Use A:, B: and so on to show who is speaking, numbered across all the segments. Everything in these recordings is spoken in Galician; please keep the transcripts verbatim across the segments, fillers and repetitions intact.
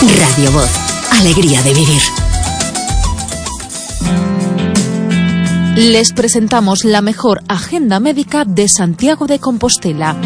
A: Radio Voz. Alegría de vivir.
B: Les presentamos la mejor agenda médica de Santiago de Compostela.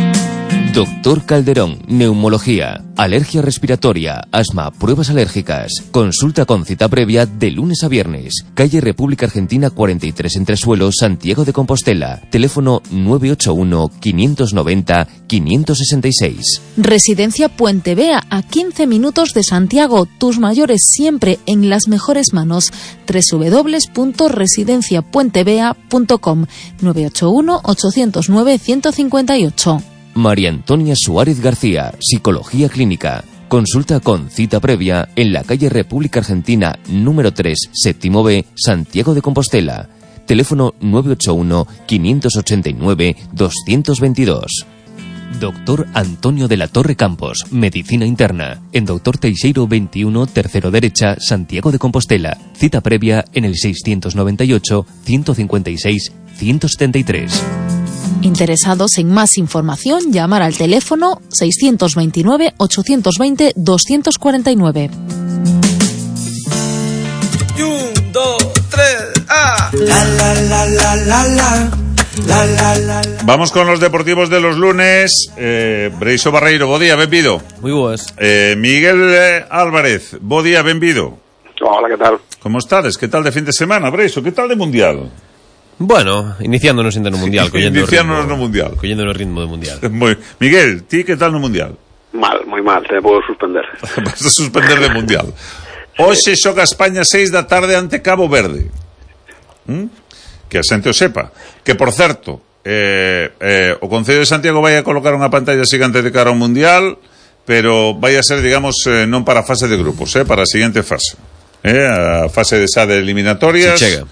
C: Doctor Calderón, neumología, alergia respiratoria, asma, pruebas alérgicas. Consulta con cita previa de lunes a viernes. Calle República Argentina cuarenta y tres Entresuelos, Santiago de Compostela. Teléfono nueve ocho uno, quinientos noventa, quinientos sesenta y seis.
B: Residencia Puente Vea, a quince minutos de Santiago. Tus mayores siempre en las mejores manos. doble u doble u doble u punto residencia puente vea punto com. nueve ocho uno, ocho cero nueve, uno cinco ocho.
C: María Antonia Suárez García, Psicología Clínica. Consulta con cita previa en la calle República Argentina número tres, séptimo B, Santiago de Compostela. Teléfono nueve ocho uno, quinientos ochenta y nueve, doscientos veintidós. Doctor Antonio de la Torre Campos, Medicina Interna. En Doctor Teixeiro veintiuno, tercero derecha, Santiago de Compostela. Cita previa en el seiscientos noventa y ocho, ciento cincuenta y seis, ciento setenta y tres.
B: Interesados en más información, llamar al teléfono seiscientos veintinueve, ochocientos veinte, doscientos cuarenta y nueve.
D: Un, dos, tres, ah. La, la, la, la, la, la. La, la, la, la.
E: Vamos con los deportivos de los lunes. eh, Breixo Barreiro, bo día, benvido.
F: Muy boas.
E: eh, Miguel eh, Álvarez, bo día, benvido.
G: Hola, ¿qué tal?
E: Como estades? Que tal de fin de semana, Breixo? Que tal de Mundial?
F: Bueno, iniciándonos ainda no Mundial, collendo
E: Iniciándonos
F: o ritmo,
E: no Mundial.
F: collendo o ritmo do Mundial.
E: Muy. Miguel, ti que tal no Mundial?
G: Mal, moi mal, te puedo suspender.
E: Vas a suspender de Mundial. Hoxe xoga España seis da tarde ante Cabo Verde. ¿Mm? Que a xente o sepa. Que, por certo, eh, eh, o Concello de Santiago vai a colocar unha pantalla xigante de cara ao Mundial, pero vai a ser, digamos, eh, non para a fase de grupos, eh, para a seguinte fase. Eh, a fase de xa de eliminatorias.
F: Se chega.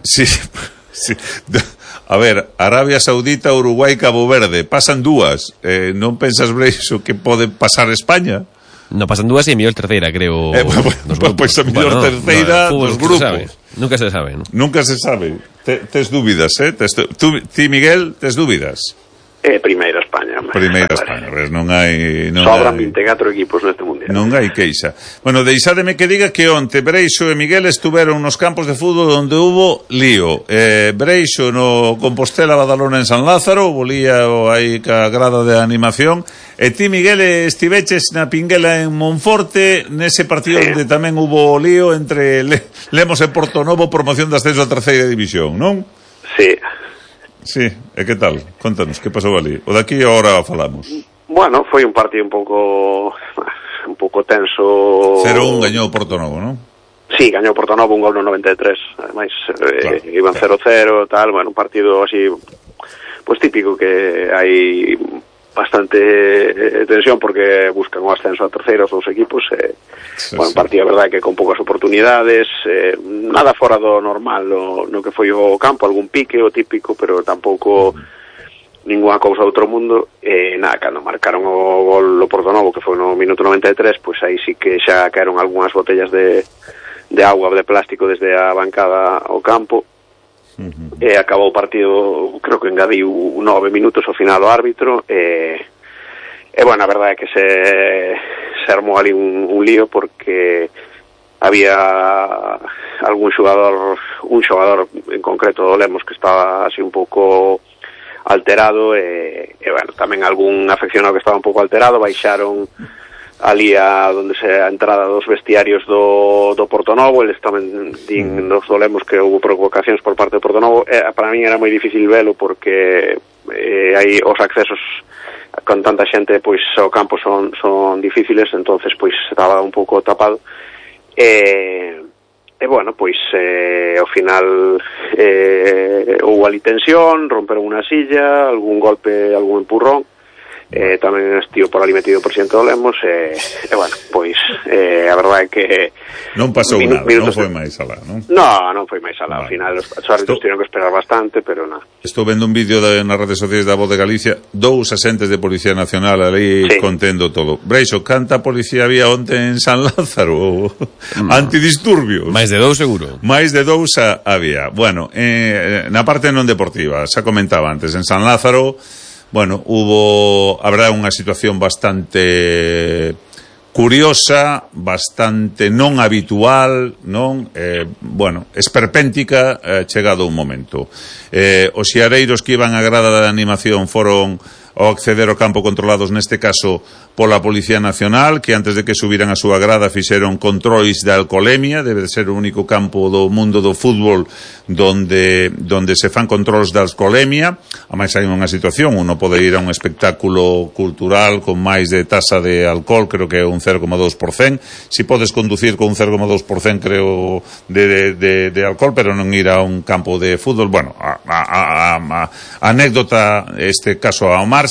E: Sí. Sí. A ver, Arabia Saudita, Uruguai, Cabo Verde, pasan dúas. Eh, non pensas, Breixo, que pode pasar España?
F: No, pasan dúas e a mellor terceira, creo.
E: Eh, pues, pues a mellor bueno, terceira no, dos grupos.
F: Sabe. Nunca se sabe, ¿no?
E: Nunca se sabe. Te, tes dúbidas, eh? Tes, tú, ti, Miguel, tes dúbidas?
G: Eh, primeira España.
E: Primeira España, ves, non hai... Non
G: Sobran
E: hai,
G: vinte e catro equipos neste Mundial.
E: Non hai queixa. Bueno, deixádeme que diga que onte Breixo e Miguel estuveron nos campos de fútbol onde hubo lío. Eh, Breixo no Compostela Badalona en San Lázaro, volía aí ca grada de animación, e ti, Miguel, estiveches na Pinguela en Monforte, nese partido sí, onde tamén hubo lío entre Le- Lemos e Portonovo, promoción de ascenso a terceira división, non?
G: Sí.
E: Sí, e que tal? Contanos, que pasou ali? O daqui agora falamos.
G: Bueno, foi un partido un pouco un pouco tenso.
E: cero un gañou Portonovo, non?
G: Sí, gañou Portonovo un gol no noventa e tres. Ademais,
E: claro,
G: eh, iban
E: claro.
G: cero cero, tal, bueno, un partido así pues típico que hai bastante eh, tensión porque buscan o ascenso a terceira os dous equipos. Eh, sí, bueno, un partido, a verdade, que con poucas oportunidades, eh, nada fora do normal no, no que foi o campo, algún pique, o típico, pero tampouco uh-huh. ninguna cousa do outro mundo. E eh, nada, cando marcaron o gol o Portonovo, que foi no minuto noventa e tres, pois pues aí sí que xa caeron algunhas botellas de, de agua, de plástico desde a bancada ao campo. Uh-huh. E acabou o partido, creo que engadiu nove minutos ao final o árbitro, e, e bueno, a verdade é que se, se armou ali un, un lío porque había algún xogador, un xogador en concreto do Lemos que estaba así un pouco alterado, e, e bueno, tamén algún afeccionado que estaba un pouco alterado, baixaron ali a donde se a entrada dos vestiarios do, do Portonovo. Eles tamén din, nos dolemos que houve provocacións por parte do Portonovo. Eh, para min era moi difícil velo porque eh, hai os accesos con tanta xente, pois ao campo son, son difíciles, entonces pois estaba un pouco tapado. E, e bueno, pois eh, ao final eh, houve ali tensión, romperon unha silla, algún golpe, algún empurrón. Eh, tamén estivo por ali metido o presidente do Lemos, e, e bueno, pois eh, a verdade é que
E: non pasou minu- nada, non foi máis alá, non?
G: No, non foi máis alá, ao
E: vale.
G: final os árbitros Estou... tiveron que esperar bastante, pero nada.
E: Estou vendo un vídeo de, nas redes sociais da Voz de Galicia, dous asentes de Policía Nacional ali sí, contendo todo. Breixo, canta policía había onte en San Lázaro? No. Antidisturbios.
F: Máis de dous seguro.
E: Máis de dous a, había. Bueno, eh, na parte non deportiva, xa comentaba antes, en San Lázaro, bueno, hubo, habrá unha situación bastante curiosa, bastante non habitual, non? Eh, bueno, esperpéntica, eh, chegado un momento. Eh, os xiareiros que iban á grada de animación foron ao acceder ao campo controlados, neste caso pola Policía Nacional, que antes de que subiran a súa grada fixeron controis de alcolemia. Debe de ser o único campo do mundo do fútbol donde donde se fan controls de alcolemia. A máis hai unha situación, uno pode ir a un espectáculo cultural con máis de tasa de alcohol, creo que é un cero coma dos por cento. Si podes conducir con un cero coma dos por cento, creo, de, de, de, de alcohol, pero non ir a un campo de fútbol. Bueno, a, a, a, a, a anécdota, este caso ao mar.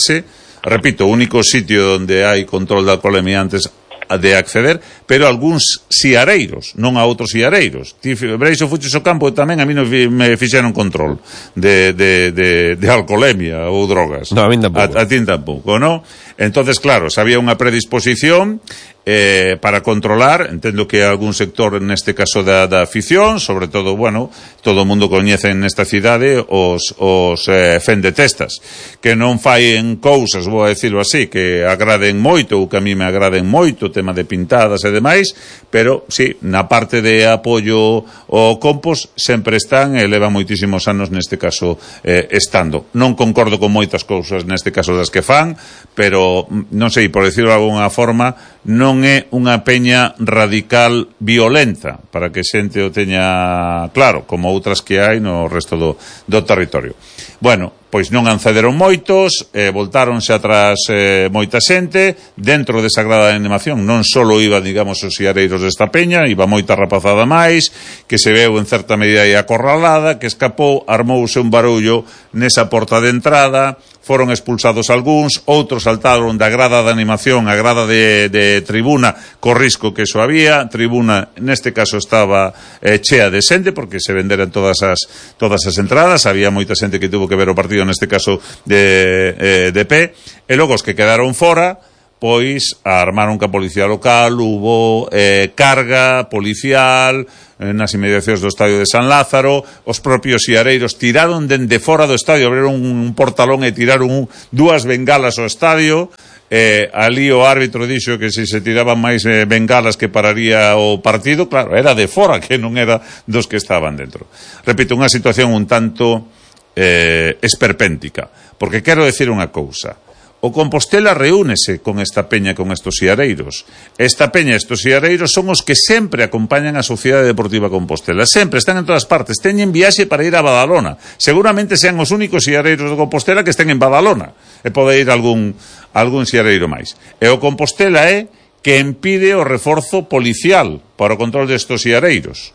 E: Repito, o único sitio onde hai control de alcoholemia antes de acceder, pero algúns xiareiros, non a outros xiareiros. Ti, Breixo, fuches ao campo e tamén a mí non me fixeron control de, de, de, de alcoholemia ou drogas.
F: No, a mí tampouco.
E: A, a ti tampouco, non? Entonces, claro, se había unha predisposición eh, para controlar, entendo que algún sector, neste caso da, da afición, sobre todo, bueno, todo o mundo coñece nesta cidade os, os eh, fendetestas, que non faen cousas, vou a decirlo así, que agraden moito, ou que a mí me agraden moito, tema de pintadas e demais, pero, sí, na parte de apoio ao compost sempre están e levan moitísimos anos, neste caso, eh, estando. Non concordo con moitas cousas, neste caso, das que fan, pero, non sei, por decirlo de alguna forma, non é unha peña radical violenta, para que xente o teña claro, como outras que hai no resto do, do territorio. Bueno, pois non accederon moitos, eh, voltáronse atrás eh, moita xente, dentro desa grada de animación non só iba, digamos, os xiareiros desta peña, iba moita rapazada máis, que se veu en certa medida aí acorralada, que escapou, armouse un barullo nesa porta de entrada, foron expulsados algúns, outros saltaron da grada de animación a grada de, de tribuna, co risco que eso había. Tribuna, neste caso, estaba eh, chea de xente, porque se venderan todas as, todas as entradas, había moita xente que tuvo que ver o partido, neste caso, de, eh, de pé, e logo os que quedaron fora, pois armaron ca policía local, hubo eh, carga policial nas inmediacións do estadio de San Lázaro. Os propios xiareiros tiraron dende fora do estadio, abriron un portalón e tiraron un, dúas bengalas ao estadio. Eh, ali o árbitro dixo que se se tiraban máis eh, bengalas que pararía o partido. Claro, era de fora, que non era dos que estaban dentro. Repito, unha situación un tanto eh, esperpéntica, porque quero decir unha cousa. O Compostela reúnese con esta peña, con estos xiareiros. Esta peña, estos xiareiros, son os que sempre acompañan a Sociedade Deportiva Compostela. Sempre, están en todas partes. Teñen viaxe para ir a Badalona. Seguramente sean os únicos xiareiros de Compostela que estén en Badalona. E pode ir algún, algún xiareiro máis. E o Compostela é que impide o reforzo policial para o control destes xiareiros.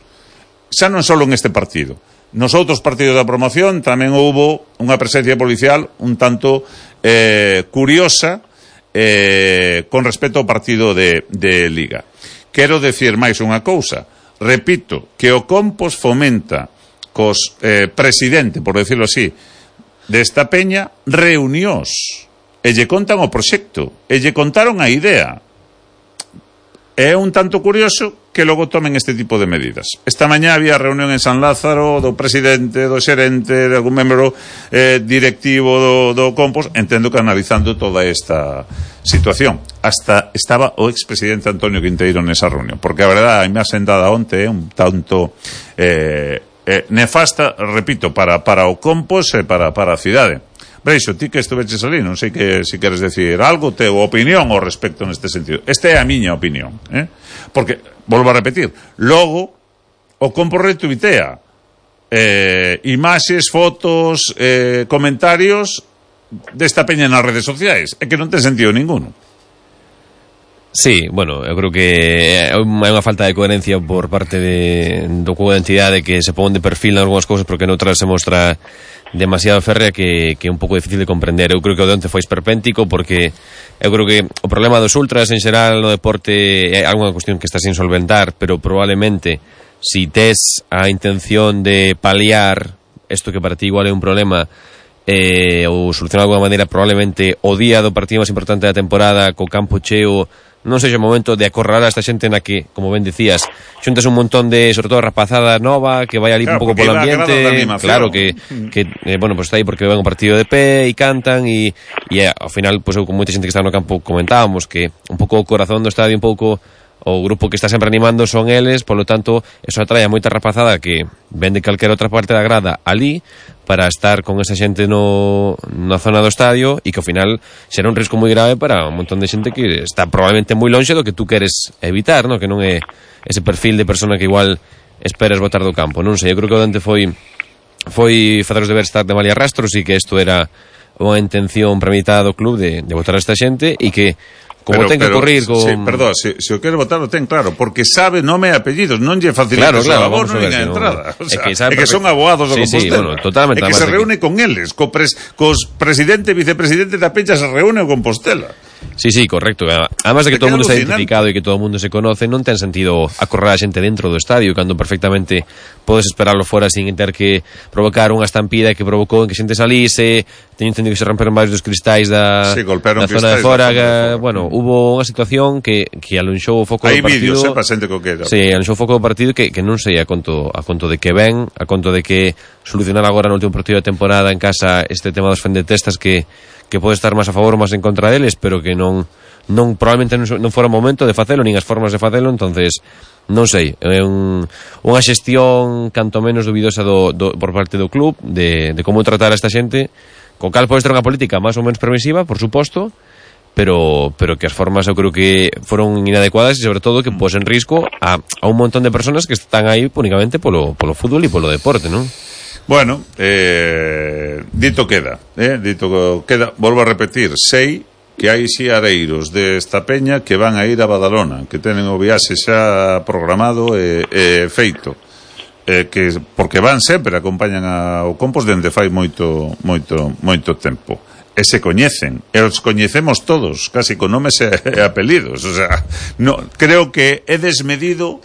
E: Xa non só en este partido. Nos outros partidos da promoción tamén houbo unha presencia policial un tanto eh, curiosa eh, con respecto ao partido de, de Liga. Quero decir máis unha cousa. Repito, que o Compos fomenta cos eh, presidente, por decirlo así, desta peña, reunións. E lle contan o proxecto. E lle contaron a idea. É un tanto curioso que logo tomen este tipo de medidas. Esta mañá había reunión en San Lázaro do presidente, do xerente, de algún membro eh, directivo do, do Compos, entendo que analizando toda esta situación. Hasta estaba o expresidente Antonio Quinteiro nesa reunión, porque a verdade, a imaxe dada onte é un tanto eh, eh, nefasta, repito, para, para o Compos e para, para a cidade. Breixo, ti que estuveches ali, non sei que se si queres decir algo, teu opinión ao respecto neste sentido. Esta é a miña opinión, eh? Porque, volvo a repetir, logo o Compos retuitea eh, imaxes, fotos, eh, comentarios desta peña nas redes sociais, é que non ten sentido ninguno.
F: Sí, bueno, eu creo que hai unha falta de coherencia por parte de, do cubo de entidade, que se pon de perfil en algunhas cousas porque noutras se mostra demasiado férrea, que, que é un pouco difícil de comprender. Eu creo que o de onte foi esperpéntico, porque eu creo que o problema dos ultras en xeral no deporte é algunha cuestión que está sin solventar, pero probablemente si tes a intención de paliar isto que para ti igual é un problema, eh, ou solucionar de alguma maneira, probablemente o día do partido máis importante da temporada co campo cheo non sexa o momento de acorralar a esta xente na que, como ben dicías, xuntas un montón de, sobre todo, rapazada nova que vai ali
E: claro,
F: un pouco polo ambiente, claro, que, que eh, bueno, pues está aí porque ven un partido de pé e cantan e, e ao final, pues eu con moita xente que está no campo comentábamos que un pouco o corazón do estadio, un pouco o grupo que está sempre animando son eles, polo tanto, eso atrae a moita rapazada que ven de calquera outra parte da grada ali para estar con esa xente no, na zona do estadio e que ao final será un risco moi grave para un montón de xente que está probablemente moi lonxe do que tú queres evitar, no? Que non é ese perfil de persona que igual esperas botar do campo, non sei, eu creo que o Dante foi foi facer os deberes estar de malia rastros e que isto era unha intención premeditada do club de, de botar a esta xente e que como
E: pero,
F: ten que
E: pero,
F: correr con...
E: Sí, perdón, se, se o quere votar o ten claro, porque sabe nome e apellidos, non lle facilita
F: claro, claro,
E: o abono nin a entrada. O sea,
F: é, que
E: é que son abogados do
F: sí,
E: Compostela.
F: Sí, bueno, totalmente.
E: É que se reúne que... con eles, co pres, cos presidente e vicepresidente da Peña se reúne o Compostela.
F: Sí, sí, correcto. Además de que todo o mundo está identificado e que todo o mundo se conoce, non ten sentido acorrer a xente dentro do estadio cando perfectamente podes esperarlo fora sin ter que provocar unha estampida que provocou en que xente salise. Teño entendido que se romperon varios dos cristais da,
E: sí,
F: da zona de fora, que, bueno, hubo unha situación que, que alonxou o foco
E: Hai
F: do partido.
E: Hai vídeos, eh, para xente que quera.
F: Sí, alonxou o foco do partido que, que non sei a conto, a conto de que ven, a conto de que solucionar agora no último partido da temporada en casa este tema dos fendetestas que que pode estar máis a favor ou máis en contra deles, pero que non non probablemente non, non fora o momento de facelo, nin as formas de facelo, entonces non sei, é un, unha xestión canto menos dubidosa do, do, por parte do club de, de como tratar a esta xente, co cal pode ter unha política máis ou menos permisiva, por suposto, pero pero que as formas eu creo que foron inadecuadas e sobre todo que pos en risco a, a un montón de personas que están aí únicamente polo, polo fútbol e polo deporte, non?
E: Bueno, eh, dito queda, eh, dito queda, volvo a repetir, sei que hai xiareiros desta peña que van a ir a Badalona, que tenen o viaxe xa programado e, e feito, eh, que porque van sempre, acompañan ao Compos dende fai moito, moito, moito tempo. E se coñecen, e os coñecemos todos, casi con nomes e, e apelidos, o sea, no, creo que é desmedido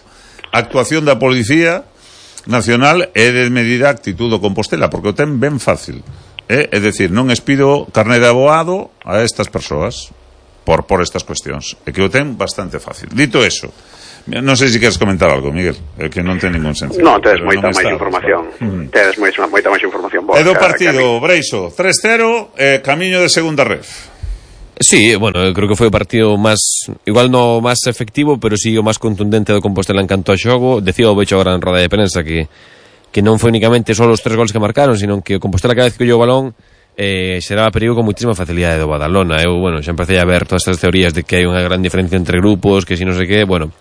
E: a actuación da Policía Nacional é de medida actitud do Compostela, porque o ten ben fácil, eh? É dicir, non espido carné de aboado a estas persoas por, por estas cuestións, é que o ten bastante fácil. Dito eso, non sei se queres comentar algo, Miguel, é que non ten ningún sentido.
G: Non, tedes moita máis información, mm. tedes moita, moita máis información boa.
E: É do partido, Breixo, tres cero, eh, camiño de segunda ref.
F: Sí, bueno, eu creo que foi o partido máis, igual no máis efectivo, pero sí o máis contundente do Compostela en canto ao xogo. Decía o Becho agora en roda de prensa que que non foi únicamente só os tres gols que marcaron, sino que o Compostela cada vez que collou o balón eh, xeraba perigo con muitísima facilidade do Badalona. Eu, bueno, xa empecé a ver todas estas teorías de que hai unha gran diferencia entre grupos, que si non sei que, bueno,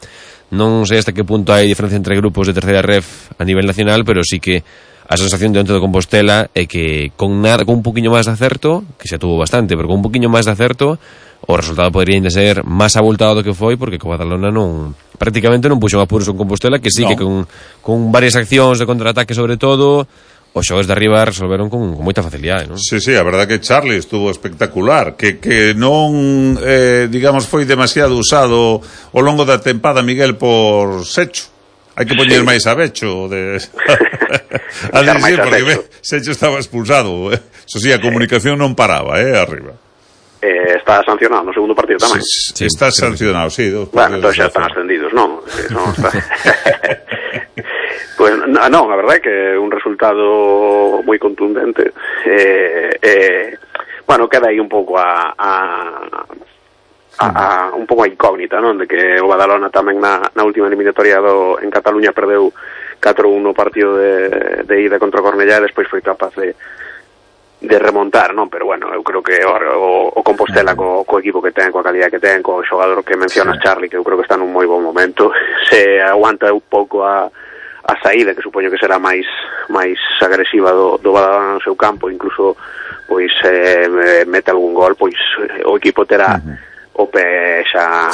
F: non sei hasta que punto hai diferencia entre grupos de terceira ref a nivel nacional, pero sí que a sensación de onte do Compostela é que con nada, con un poquinho máis de acerto, que xa tuvo bastante, pero con un poquinho máis de acerto, o resultado podría ainda ser máis abultado do que foi, porque co Badalona non, prácticamente non puxo en apuros con Compostela, que sí no. que con, con varias accións de contraataque sobre todo, os xogadores de arriba resolveron con, con moita facilidade, non?
E: Sí, sí, a verdade que Charlie estuvo espectacular, que, que non, eh, digamos, foi demasiado usado ao longo da tempada Miguel por Secho. Hai que poñer máis a Becho de... a decir, porque ve, Secho estaba expulsado, eh? Eso sí, a comunicación non paraba, eh, arriba.
G: Eh, está sancionado no segundo partido tamén.
E: Sí, sí, está sí, sancionado, sí. Dos
G: bueno, entón xa están ascendidos, non? non está... pues non, a verdade é que un resultado moi contundente. Eh, eh, bueno, queda aí un pouco a... a A, a, un pouco a incógnita, non? De que o Badalona tamén na, na última eliminatoria do, en Cataluña perdeu catro uno o partido de, de ida contra o Cornellá e despois foi capaz de, de remontar, non? Pero bueno, eu creo que o, o, o Compostela co, co equipo que ten, coa calidad que ten, co xogador que mencionas, sí. Charlie, que eu creo que está nun moi bon momento, se aguanta un pouco a, a saída, que supoño que será máis máis agresiva do, do Badalona no seu campo, incluso pois eh, mete algún gol, pois o equipo terá uh-huh. o pé xa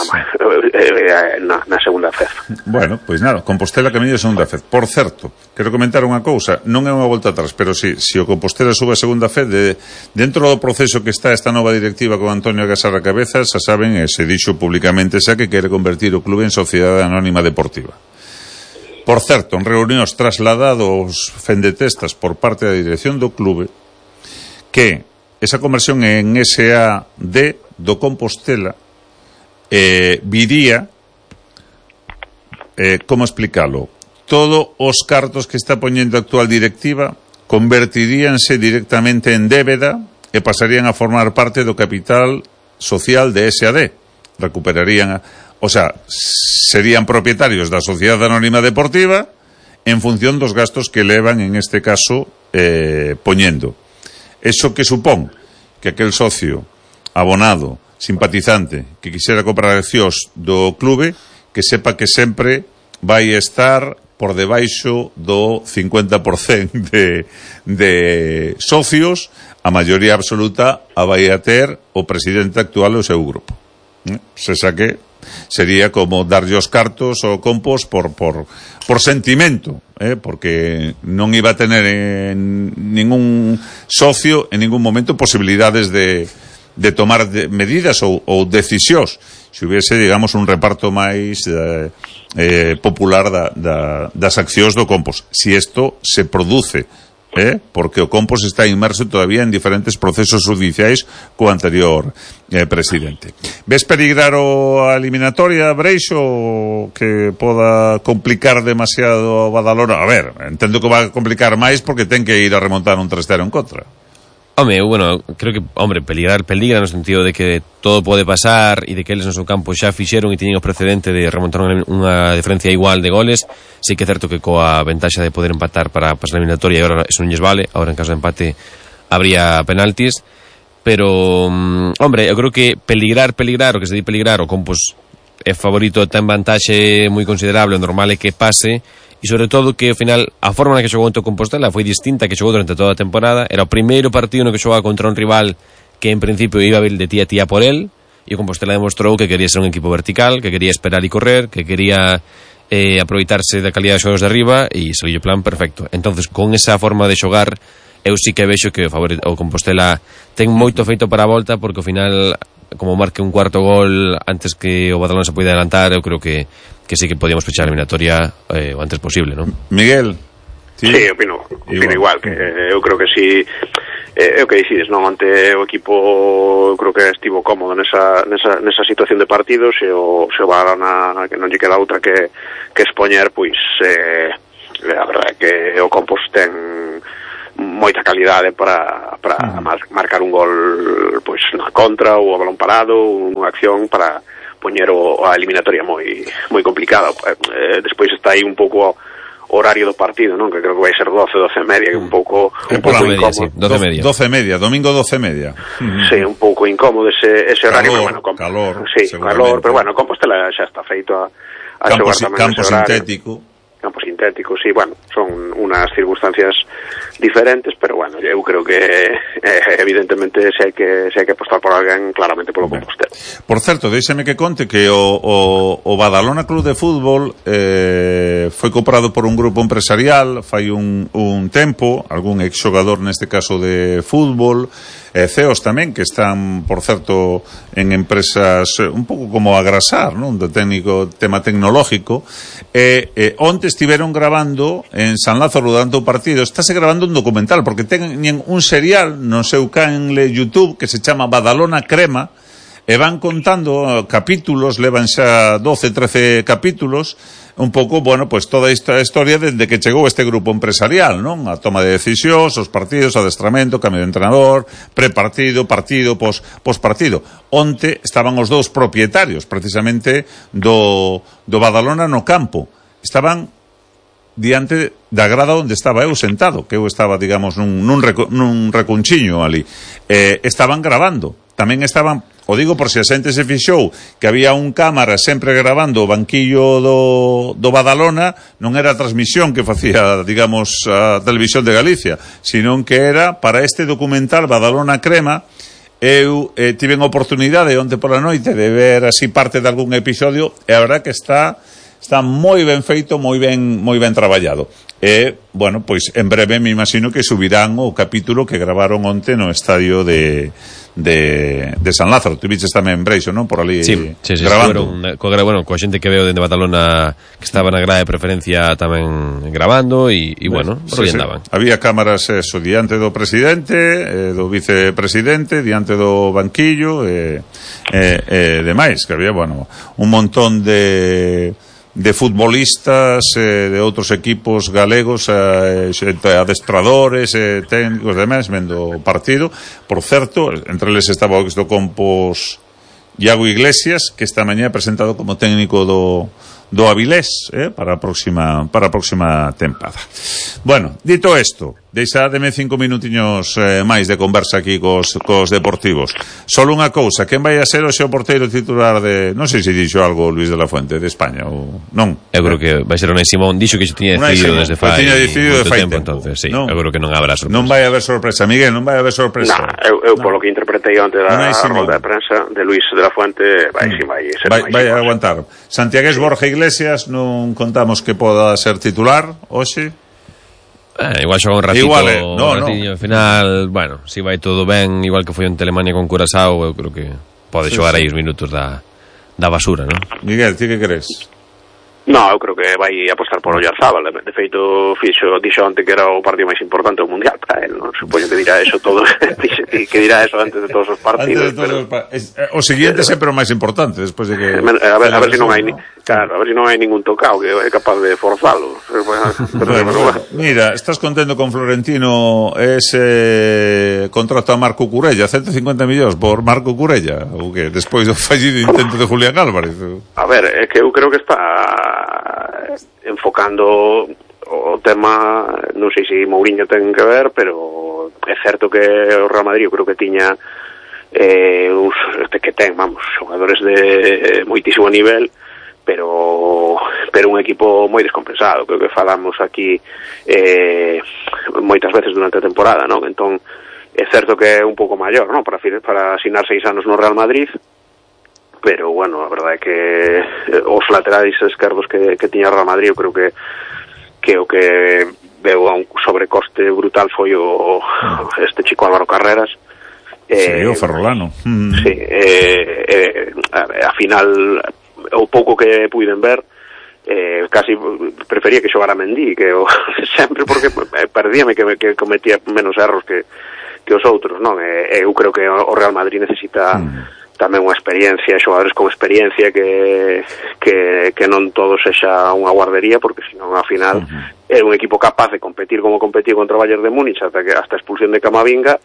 G: na, na segunda fez.
E: Bueno, pois nada, Compostela camiño de segunda fez. Por certo, quero comentar unha cousa, non é unha volta atrás, pero si, si o Compostela sube a segunda fez, de, dentro do proceso que está esta nova directiva con Antonio Gasarra Cabezas, xa saben, e se dixo públicamente xa que quere convertir o clube en sociedade anónima deportiva. Por certo, en reunións trasladados fendetestas por parte da dirección do clube que esa conversión en S A D do Compostela eh, viría eh, como explicalo, todos os cartos que está poñendo a actual directiva convertiríanse directamente en débeda e pasarían a formar parte do capital social de S A D. Recuperarían, a, o sea, serían propietarios da Sociedade Anónima Deportiva en función dos gastos que levan, en este caso, eh, poñendo. Eso que supón que aquel socio abonado, simpatizante, que quixera comprar accións do clube, que sepa que sempre vai estar por debaixo do cincuenta por cento de, de socios, a maioría absoluta a vai a ter o presidente actual do seu grupo. ¿Eh? Se saque sería como darlle os cartos ao Compos por, por, por sentimento, ¿eh? Porque non iba a tener en ningún socio en ningún momento posibilidades de, de tomar de medidas ou, ou decisións. Se hubiese, digamos, un reparto máis eh, eh, popular da, da, das accións do Compos. Si isto se produce, eh, porque o Compos está inmerso todavía en diferentes procesos judiciais co anterior eh, presidente. Ves peligrar o a eliminatoria, Breixo, que poda complicar demasiado a Badalona? A ver, entendo que va a complicar máis porque ten que ir a remontar un tres cero en contra.
F: Home, bueno, creo que, hombre, peligrar, peligra no sentido de que todo pode pasar e de que eles no seu campo xa fixeron e tiñen o precedente de remontar unha diferencia igual de goles. Sí que é certo que coa ventaxa de poder empatar para pasar a eliminatoria, e agora eso non lles vale, agora en caso de empate habría penaltis, pero, um, hombre, eu creo que peligrar, peligrar, o que se di peligrar, o Compos é favorito, ten vantaxe moi considerable, o normal é que pase. E sobre todo que ao final a forma na que xogou ante o Compostela foi distinta que xogou durante toda a temporada. Era o primeiro partido no que xogaba contra un rival que en principio iba a vir de tía a tía por él, e o Compostela demostrou que quería ser un equipo vertical, que quería esperar e correr, que quería eh, aproveitarse da calidad de xogos de arriba, e saliu o plan perfecto. Entonces, con esa forma de xogar, eu sí que vexo que o, favor, o Compostela ten moito feito para a volta, porque ao final, como marque un cuarto gol antes que o Badalona se poida adelantar, eu creo que que sí que podíamos pechar a eliminatoria eh, o antes posible, ¿no?
E: Miguel.
G: Sí, sí opino, opino igual, igual que eh, eu creo que si eh, é o que dicides, non? Ante o equipo eu creo que estivo cómodo nesa, nesa, nesa situación de partidos, e o, se o Badalona que non lle queda outra que, que expoñer, pois eh, a verdade é que o Compos ten moita calidade para, para mm. marcar un gol pois na contra ou a balón parado, unha acción para poñer o, a eliminatoria moi moi complicada. Eh, despois está aí un pouco o horario do partido, non? Que creo que vai ser doce, doce e media, que un pouco un pouco incómodo.
F: Sí, doce e media.
E: doce e media, domingo doce e media.
G: Sí, un pouco incómodo ese, ese horario,
E: calor,
G: pero bueno, com,
E: calor,
G: sí, calor, pero bueno, Compostela xa está feito a, a
E: campo,
G: xogar tamén
E: campo
G: ese horario.
E: sintético.
G: Campo sintético, sí, bueno, son unas circunstancias diferentes, pero bueno, eu creo que eh, evidentemente se hai que se hai que apostar por alguén claramente polo Compostela.
E: Por certo, déixeme que conte que o, o, o Badalona Club de Fútbol eh, foi comprado por un grupo empresarial fai un, un tempo, algún exxogador neste caso de fútbol, e C E Os tamén que están, por certo, en empresas un pouco como Agrasar, non? Do técnico tema tecnológico, e eh, onte estiveron grabando en San Lázaro durante o partido, estáse grabando un documental, porque teñen un serial no seu canle YouTube que se chama Badalona Crema, e van contando capítulos, levan xa doce, trece capítulos, un pouco, bueno, pues toda esta historia desde que chegou este grupo empresarial, non? A toma de decisións, os partidos, adestramento, cambio de entrenador, prepartido, partido, pos, pospartido. Onte estaban os dous propietarios, precisamente, do, do Badalona no campo. Estaban diante da grada onde estaba eu sentado, que eu estaba, digamos, nun, nun, reco, nun recunchiño ali. Eh, estaban grabando. Tamén estaban, o digo por se a xente se fixou, que había un cámara sempre grabando o banquillo do, do Badalona, non era a transmisión que facía, digamos, a Televisión de Galicia, sino que era para este documental Badalona Crema. Eu eh, tive a oportunidade onte pola noite de ver así parte de algún episodio, e a verdad que está está moi ben feito, moi ben moi ben traballado. E, bueno, pois en breve me imagino que subirán o capítulo que gravaron onte no estadio de de, de San Lázaro. Tu viches tamén Breixo, non? Por ali
F: sí, sí, sí,
E: grabando.
F: Sí, co, bueno, coa xente que veo dende Badalona que estaba na grada de preferencia tamén grabando e, e bueno, por aí sí, andaban.
E: Sí. Había cámaras eso, diante do presidente, eh, do vicepresidente, diante do banquillo e, eh, eh, demais, que había, bueno, un montón de de futbolistas eh, de outros equipos galegos, eh, adestradores, eh, técnicos, demais, vendo o partido. Por certo, entre eles estaba o do Compos Iago Iglesias, que esta mañá presentado como técnico do do Avilés, eh, para a próxima para a próxima tempada. Bueno, dito isto, deixademe cinco minutiños eh, máis de conversa aquí cos, cos deportivos. Solo unha cousa, quen vai a ser o xeo porteiro titular de, non sei se dixo algo Luis de la Fuente de España ou non.
F: Eu creo que vai ser Unai Simón, dixo que xo tiña decidido desde fai
E: tiña decidido de fai
F: tempo,
E: tempo.
F: Entonces, sí,
E: non,
F: eu creo que non haberá sorpresa.
E: Non vai haber sorpresa, Miguel, non vai haber sorpresa.
G: Nah, eu, eu no. Polo que interpretei antes da rolda de prensa de Luis de la Fuente, vai, mm. si, vai ser
E: vai, vai a aguantar. Santiagués Borja Iglesias non contamos que poda ser titular hoxe.
F: Eh, igual xoga un ratito,
E: igual, eh, no,
F: un ratillo,
E: no.
F: Al final, bueno, si vai todo ben, igual que foi en Telemania con Curaçao, eu creo que pode sí, xogar sí. aí os minutos da, da basura, non?
E: Miguel, ti que crees?
G: No, eu creo que vai apostar por Oyarzábal. De feito, fixo, dixo antes que era o partido máis importante do Mundial para él, non? Supoño que dirá eso todo, que dirá eso antes de todos os partidos.
E: Antes de todos
G: pero...
E: os pa... es, o siguiente sempre o máis importante, despois de que...
G: A ver, a ver se si non hai, ¿no? Claro, a ver se si non hai ningún tocado que é capaz de forzalo.
E: Bueno, mira, estás contento con Florentino ese contrato a Marco Curella, ciento cincuenta millóns por Marco Curella, ou que despois do fallido intento de Julián Álvarez.
G: A ver, é que eu creo que está enfocando o tema, non sei se Mourinho ten que ver, pero é certo que o Real Madrid eu creo que tiña eh, uns, este que ten, vamos, xogadores de eh, moitísimo nivel, pero pero un equipo moi descompensado, creo que falamos aquí eh, moitas veces durante a temporada, non? Entón, é certo que é un pouco maior, non? Para, para asinar seis anos no Real Madrid, pero bueno, a verdade é que os laterais esquerdos que, que tiña Real Madrid, eu creo que que o que veo a un sobrecoste brutal foi o este chico Álvaro Carreras.
E: Sí, eh, o Ferrolano.
G: Sí, eh, eh, a final o pouco que puiden ver, eh, casi prefería que xogara Mendy, que o, sempre porque perdíame que, que cometía menos erros que, que os outros, non? Eh, eu creo que o Real Madrid necesita mm. tamén unha experiencia, xogadores con experiencia que, que, que non todo sexa unha guardería, porque senón ao final uh-huh. é un equipo capaz de competir como competir contra o Bayern de Múnich hasta que hasta a expulsión de Camavinga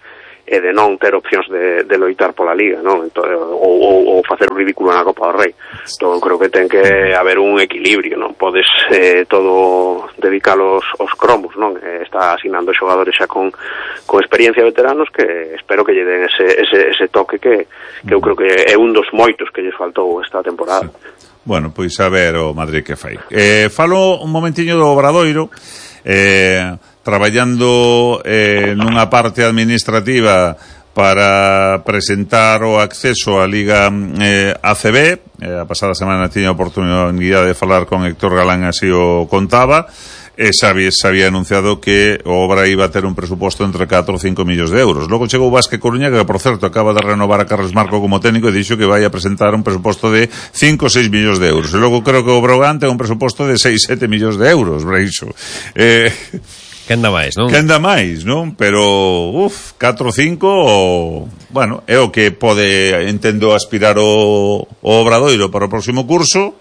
G: e de non ter opcións de, de loitar pola Liga, non? Entón, ou, ou, ou facer un ridículo na Copa do Rei. Entón, creo que ten que haber un equilibrio, non podes eh, todo dedicar aos, aos cromos, non? Eh, está asinando xogadores xa con, con experiencia veteranos que espero que lle den ese, ese, ese toque que, que eu creo que é un dos moitos que lles faltou esta temporada.
E: Sí. Bueno, pois a ver o Madrid que fai. Eh, falo un momentiño do Obradoiro, eh... traballando eh, nunha parte administrativa para presentar o acceso á Liga eh, A C B. Eh, a pasada semana tiña a oportunidade de falar con Héctor Galán, así o contaba, e xa había, xa había anunciado que a obra iba a ter un presuposto entre catro ou cinco millóns de euros. Logo chegou Vázquez Coruña, que por certo acaba de renovar a Carlos Marco como técnico, e dixo que vai a presentar un presuposto de cinco ou seis millóns de euros. E logo creo que o Brogan ten un presuposto de seis ou sete millóns de euros, Breixo. Eh...
F: Que anda máis, non?
E: Que anda máis, non? Pero, uf, catro ou cinco, o, bueno, é o que pode, entendo, aspirar o, o Obradoiro para o próximo curso.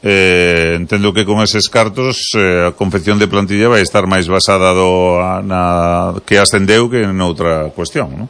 E: Eh, entendo que con eses cartos eh, a confección de plantilla vai estar máis basada do, na, que ascendeu que en outra cuestión, non?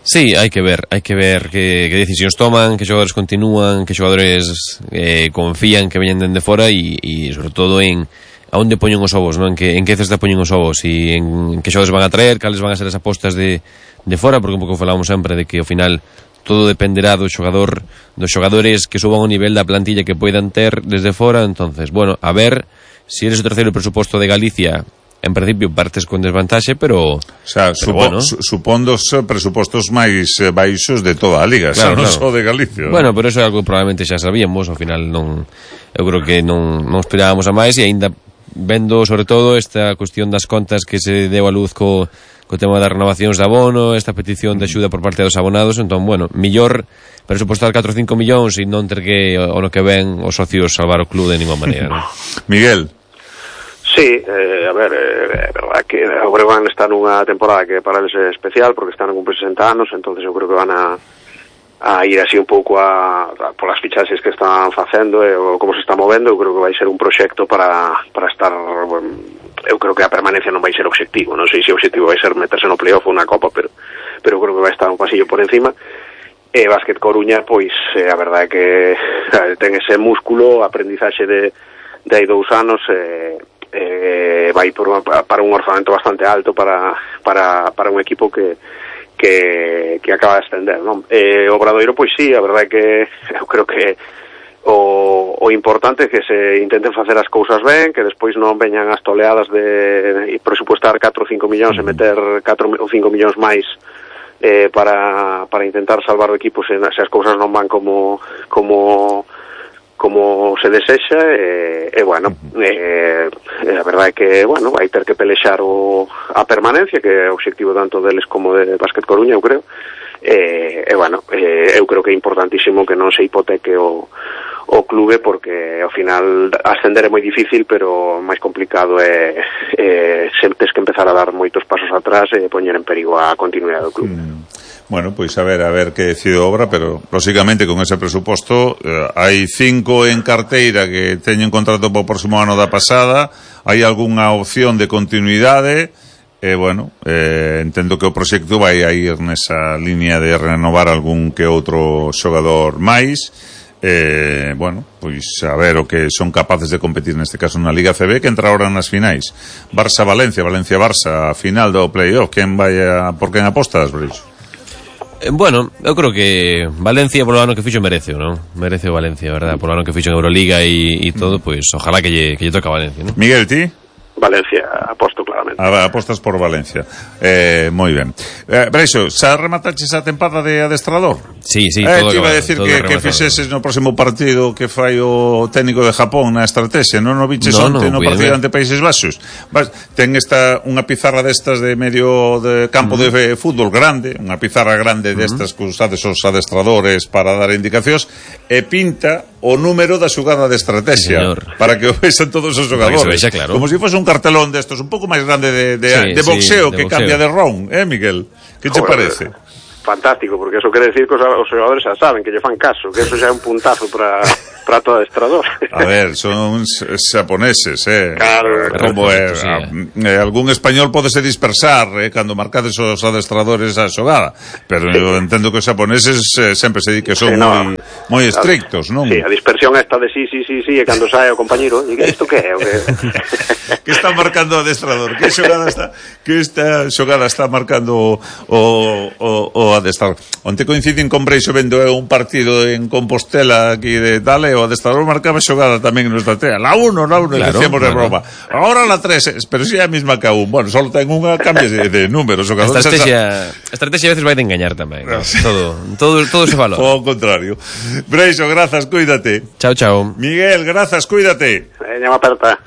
F: Sí, hai que ver, hai que ver que, que decisións toman, que xogadores continúan, que xogadores eh, confían que veñen dende fora e, e sobre todo en a onde poñen os ovos, non? En que, en que cesta poñen os ovos e en, en que xogadores van a traer, cales van a ser as apostas de, de fora, porque un pouco falamos sempre de que ao final todo dependerá do xogador, dos xogadores que suban o nivel da plantilla que poidan ter desde fora. Entonces, bueno, a ver, se si eres o terceiro presuposto de Galicia, en principio partes con desvantaxe, pero
E: o sea,
F: pero
E: supo,
F: bueno.
E: su, supondo os presupostos máis eh, baixos de toda a liga,
F: Claro,
E: xa non
F: claro.
E: só de Galicia.
F: Bueno, pero eso é algo que probablemente xa sabíamos, ao final non, eu creo que non, non esperábamos a máis, e aínda vendo sobre todo esta cuestión das contas que se deu a luz co, co tema das renovacións de abono, esta petición de axuda por parte dos abonados, entón, bueno, millor presupostar catro ou cinco millóns e non ter que, o no que ven, os socios salvar o club de ninguna maneira, ¿no?
E: Miguel.
G: Sí, eh, a ver, é eh, verdad que o Breogán está nunha temporada que para eles é especial porque están a cumprir sesenta anos, entonces eu creo que van a, a ir así un pouco a, a polas fichaxes que están facendo e o como se está movendo. Eu creo que vai ser un proxecto para, para estar, bueno, eu creo que a permanencia non vai ser obxectivo, non sei se o obxectivo vai ser meterse no playoff ou na Copa, pero, pero creo que vai estar un pasillo por encima. E Básquet Coruña, pois, eh, a verdade é que ten ese músculo, aprendizaxe de, de hai dous anos, eh, eh, vai por uma, para un orzamento bastante alto para, para, para un equipo que, que, que acaba de ascender, non? Eh, o Obradoiro, pois sí, a verdade é que eu creo que o, o importante é que se intenten facer as cousas ben, que despois non veñan as toleadas de, de presupuestar catro ou cinco millóns e meter catro ou cinco millóns máis eh, para, para intentar salvar o equipo se, se as cousas non van como como como se desexa, e, e bueno, eh, a verdade é que, bueno, vai ter que pelexar o, a permanencia, que é o obxectivo tanto deles como de Básquet Coruña, eu creo, e, e bueno, eh, eu creo que é importantísimo que non se hipoteque o, o clube, porque ao final ascender é moi difícil, pero máis complicado é, é se tes que empezar a dar moitos pasos atrás e poñer en perigo a continuidade do clube.
E: Mm. Bueno, pois a ver, a ver que decide obra, pero lógicamente con ese presuposto eh, hai cinco en carteira que teñen contrato para o próximo ano da pasada, hai algunha opción de continuidade, e eh, bueno, eh, entendo que o proxecto vai a ir nesa línea de renovar algún que outro xogador máis. Eh, bueno, pois a ver o que son capaces de competir neste caso na Liga C B, que entra ahora nas finais. Barça-Valencia, Valencia-Barça, a final do playoff. Quen vai a, por quen apostas, Breixo?
F: Eh, bueno, eu creo que Valencia polo ano que fixo merece, non? Merece o Valencia, verdad? Polo ano que fixo en Euroliga e, e todo, pois pues, ojalá que lle, que lle toque a Valencia, non?
E: Miguel, ti?
G: Valencia, aposto claramente.
E: A, apostas por Valencia. Eh, moi ben. Eh, Breixo, xa remataches a tempada de adestrador?
F: Sí, sí,
E: eh,
F: todo
E: te iba a
F: acabado,
E: decir
F: todo
E: que, que
F: rematado.
E: fixeses no próximo partido que fai o técnico de Japón na estrategia, non o viches
F: No,
E: onte
F: no,
E: no partido
F: cuidado.
E: ante Países Baixos? Vas, ten esta unha pizarra destas de medio de campo uh-huh. de fútbol grande, unha pizarra grande destas uh-huh. que usades os adestradores para dar indicacións, e pinta o número da xugada de estrategia,
F: Señor.
E: para que o vexan todos os xogadores.
F: Para que se vexa, claro.
E: Como se si fose un cartelón destos, un pouco máis grande de, de,
F: Sí,
E: de boxeo,
F: sí, de
E: que
F: boxeo.
E: cambia de round, eh, Miguel? Que che
G: Joder,
E: parece?
G: Fantástico, porque eso quere decir que os, os xogadores xa saben, que lle fan caso, que eso xa é un puntazo para para todo adestrador.
E: A ver, son xaponeses, eh.
G: Claro,
E: como é,
F: sí,
E: a, eh, algún español podese dispersar eh, cando marcades os adestradores a xogada, pero eu entendo que os xaponeses eh, sempre se di que son
G: Sí, no.
E: moi moi estrictos, non?
G: Sí, a dispersión esta de sí, sí, sí, sí, e cando sae o compañeiro, e isto que é? O que...
E: Que está marcando o adestrador? Que xogada está que esta xogada está marcando o, o, o adestrador? Onte coinciden con Breixo vendo eu un partido en Compostela aquí de Dale, o adestrador marcaba xogada tamén en estrategia. La uno, la uno,
F: Claro,
E: decíamos de
F: claro.
E: broma. Ahora la tres, pero si é a mesma que a un. Bueno, solo ten unha, cambia de, de números.
F: A estrategia, a estrategia a veces vai de engañar tamén, ¿no? todo, todo, todo se valora.
E: O ao contrario. Breixo, grazas, cuídate.
F: Chao, chao.
E: Miguel, grazas, cuídate.
G: Veña, aperta.